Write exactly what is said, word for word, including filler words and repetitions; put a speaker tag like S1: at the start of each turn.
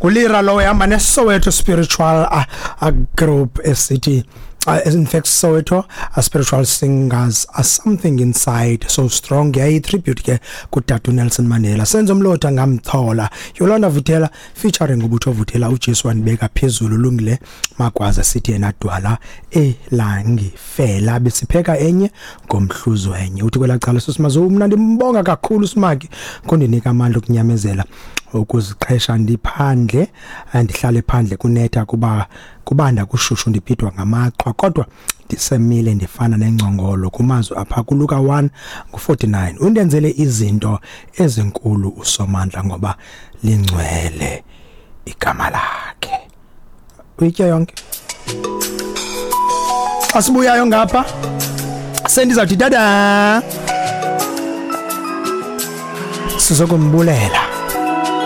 S1: Ngulira lowo ehamba neSoweto Spiritual uh, uh, Group esithi uh, in fact Soweto uh, Spiritual Singers are something inside so strong. Yayi tribute ke kutata Nelson Mandela. Senzo Mlotha ngamthola, Yolanda Vuthela featuring uButho Vuthela, uJesu wanibeka phezulu. Lungile Magwaza sithi yena dwala elangifela, besipheka enye ngomhluzo enye. Uthi kwelacala sosimazo, mna ndimbonga kakhulu Simaki kundinika amandla okunyamezela ukuziqhesha ndiphandle, ndihlale phandle kunetha, kuba kubanda, kushushu, ndibhidwa ngamaqhwa, kodwa ndisemile ndifana nengcongolo kumazwi apha kuLuka one ngu-forty-nine. Undenzele izinto ezinkulu uSomandla ngoba lingcwele igama lakhe. Uyitye yonke. Xa sibuyayo ngapha sendizawuthi dada sizokumbulela.